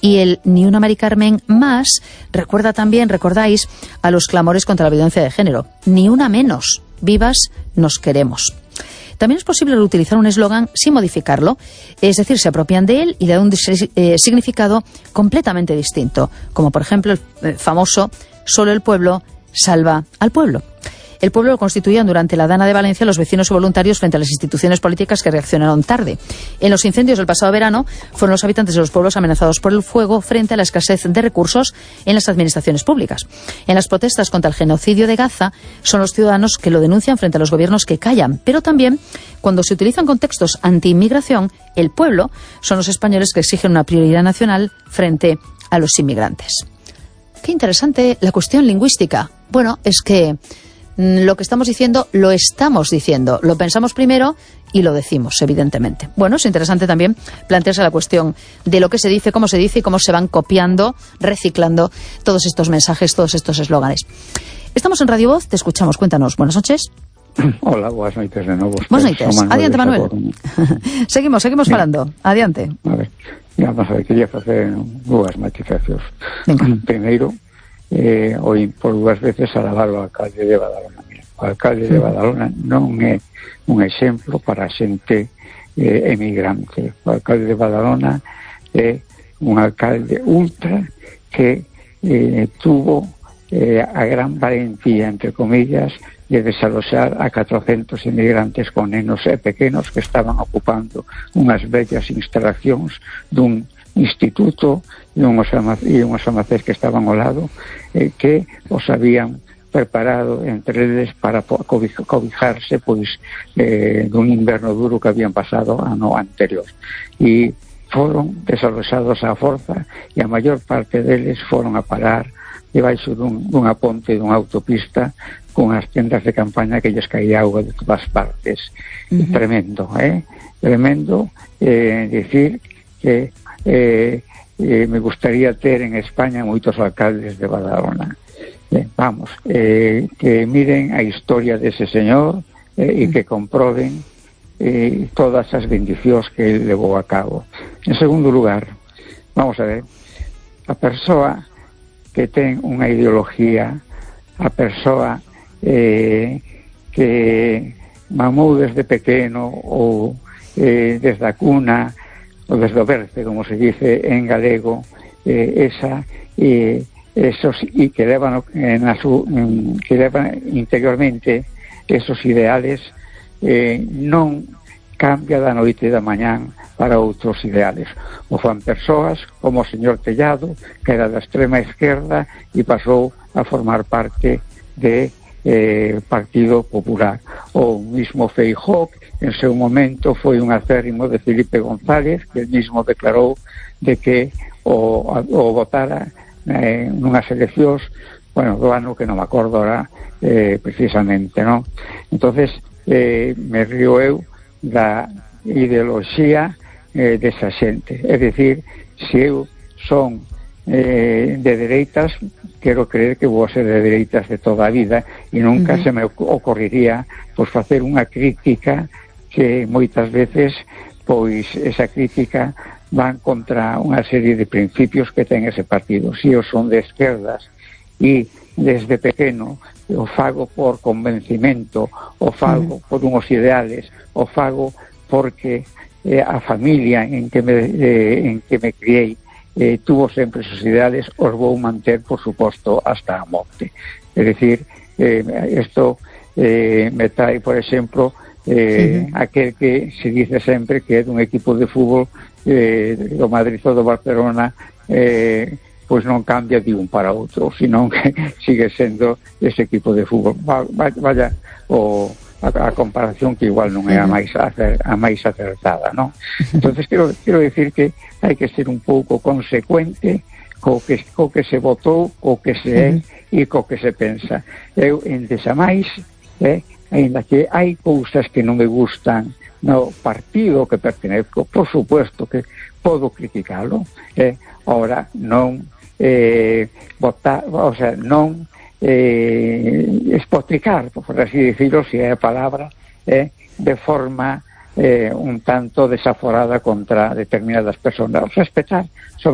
Y el Ni una Mari Carmen más recuerda también, recordáis, a los clamores contra la violencia de género. Ni una menos. Vivas nos queremos. También es posible utilizar un eslogan sin modificarlo, es decir, se apropian de él y le dan un significado completamente distinto, como por ejemplo el famoso «Solo el pueblo salva al pueblo». El pueblo lo constituían durante la Dana de Valencia los vecinos y voluntarios frente a las instituciones políticas que reaccionaron tarde. En los incendios del pasado verano fueron los habitantes de los pueblos amenazados por el fuego frente a la escasez de recursos en las administraciones públicas. En las protestas contra el genocidio de Gaza son los ciudadanos que lo denuncian frente a los gobiernos que callan, pero también cuando se utilizan contextos anti-inmigración, el pueblo son los españoles que exigen una prioridad nacional frente a los inmigrantes. Qué interesante la cuestión lingüística. Bueno, es que lo que estamos diciendo, lo pensamos primero y lo decimos, evidentemente. Bueno, es interesante también plantearse la cuestión de lo que se dice, cómo se dice y cómo se van copiando, reciclando todos estos mensajes, todos estos eslóganes. Estamos en Radio Voz, te escuchamos, cuéntanos. Buenas noches. Hola, buenas noites de novo. Buenas noites. Adiante, Manuel. seguimos falando. Adiante. A ver, vamos a ver, quería facer dúas matizacións. Primeiro, hoy por dúas veces alabar o alcalde de Badalona. Mira, o alcalde de Badalona non é un exemplo para a xente emigrante. O alcalde de Badalona é un alcalde ultra que tuvo a gran valentía, entre comillas, de desaloxar a 400 inmigrantes con nenos e pequenos que estaban ocupando unhas bellas instalacións dun instituto e unhos almacéns que estaban ao lado que os habían preparado entre eles para cobijarse pois dun inverno duro que habían pasado ano anterior, e foron desaloxados á forza e a maior parte deles foron a parar debaixo dunha ponte dunha autopista con as tendas de campaña que lles caía auga de todas partes. Tremendo, tremendo decir que me gustaría ter en España moitos alcaldes de Badalona. Vamos, que miren a historia dese señor e que comproben todas as bendicións que ele levou a cabo. En segundo lugar, vamos a ver, a persoa que ten unha ideología, a persoa que mamou desde pequeno ou desde a cuna ou desde o berce, como se dice en galego, esos e que levan interiormente esos ideales, non cambia da noite e da mañán para outros ideales. O fan persoas como o señor Tellado, que era da extrema esquerda e pasou a formar parte de Partido Popular. O mismo Feijóo, en seu momento foi un acérrimo de Felipe González, que el mismo declarou de que o votara nunhas eleccións, bueno, do ano que non me acordo ahora precisamente, non? Entonces me río eu da ideoloxía desa xente. É dicir, se eu son de dereitas, quero creer que vou ser de dereitas de toda a vida e nunca se me ocorrería pois facer unha crítica que moitas veces pois esa crítica van contra unha serie de principios que ten ese partido. Se eu son de esquerdas e desde pequeno o fago por convencimento, o fago por unhos ideales, o fago porque a familia en que me criei tuvo sempre esos ideales, os vou manter, por suposto, hasta a morte. É dicir, isto me trae, por exemplo, aquel que se dice sempre que é dun equipo de fútbol do Madrid ou do Barcelona, pois non cambia de un para outro, senón que sigue sendo ese equipo de fútbol. Vaya a comparación que igual non é a máis acertada, non? Entonces quero decir que hai que ser un pouco consecuente co que se votou, co que se é e co que se pensa. Eu, en desamais, ainda que hai cousas que non me gustan no partido que pertenezco, por supuesto que podo criticalo, ahora non votar, o sea, non espotricar, por así decirlo, si é a palabra, de forma un tanto desaforada contra determinadas personas. Respetar, sobre